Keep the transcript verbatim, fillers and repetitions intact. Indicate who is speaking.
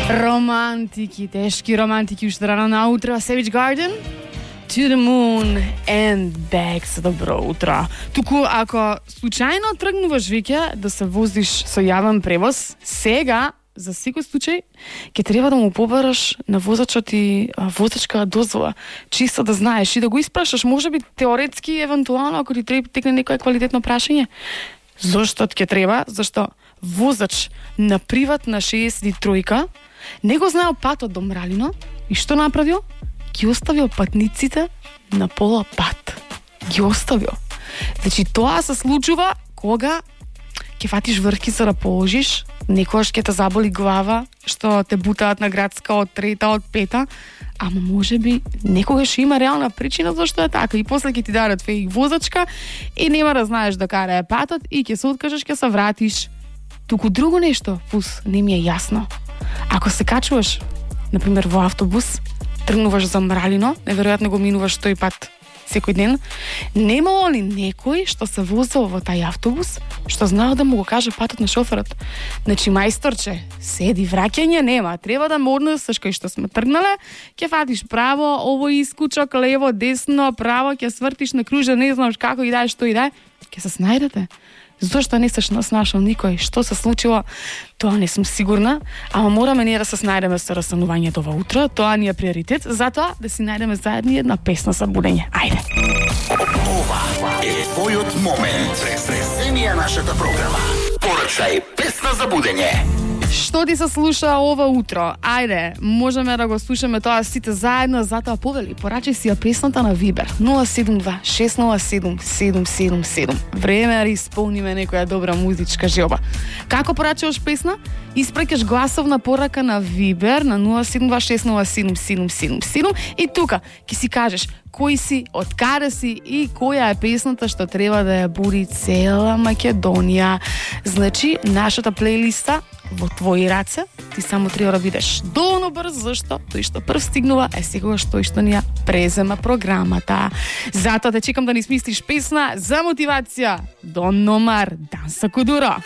Speaker 1: Романтики, тешки романтики уште рано наутро. Savage Garden, To the Moon and Back. За добро утро. Туку ако случајно тргнуваш веќе да се возиш со јавен превоз, сега за секој случај ќе треба да му побараш на возачот и возачка дозвола, чисто да знаеш и да го испрашаш, можеби теоретски, евентуално ако ти треба текне некое квалитетно прашање. Зошто ќе треба? Зашто возач на приватна шеесет и три не го знаел патот до Мралино и што направил? Ги оставил патниците на пола пат. Ги оставил. Значи тоа се случува кога ќе фатиш врхкица да положиш, некојаш ќе те заболи глава, што те бутаат на градска од трета, од пета, ама можеби некогаш има реална причина зашто е така и после ќе ти дадат фејк возачка и нема да знаеш да кара е патот и ќе се откажеш, ќе се вратиш. Туку друго нешто, пус, не ми е јасно. Ако се качуваш, например, во автобус, тргнуваш за Мралино, неверојатно го минуваш тој пат секој ден, немало ли некој што се возел во тај автобус, што знаел да му го каже патот на шоферот? Значи, мајсторче, седи, враќање нема, треба да ме однесеш кај што сме тргнале, ќе фатиш право, овој искучок, лево, десно, право, ќе свртиш на кружа, не знаш како и дај, што и дај, ќе се снајдете. Зошто не се нашол никој? Што се случило? Тоа не сум сигурна, ама мораме ние да се снајдеме со растанувањето ова утро. Тоа ни е приоритет, затоа да си најдеме заедно една песна за будење. Ајде.
Speaker 2: Ова е твојот момент. Преземи ја нашата програма. Порачај песна за будење.
Speaker 1: Што ти се слуша ова утро? Ајде, можеме да го слушаме тоа сите заедно, затоа повели, порачај си ја песната на Вибер нула седум два шест нула седум седум седум седум. Време да исполниме некоја добра музичка желба. Како порачуваш песна? Испраќаш гласовна порака на Вибер на нула седум два шест нула седум седум седум седум и тука ќе си кажеш кој си, од каде си и која е песната што треба да ја буди цела Македонија. Значи, нашата плейлиста во твои раце, ти само треба да бидеш доволно брз, зашто тој што прв стигнува е секогаш тој што ни ја презема програмата. Затоа те чекам да ни смислиш песна за мотивација. Дон Номар, Данса Кудуро.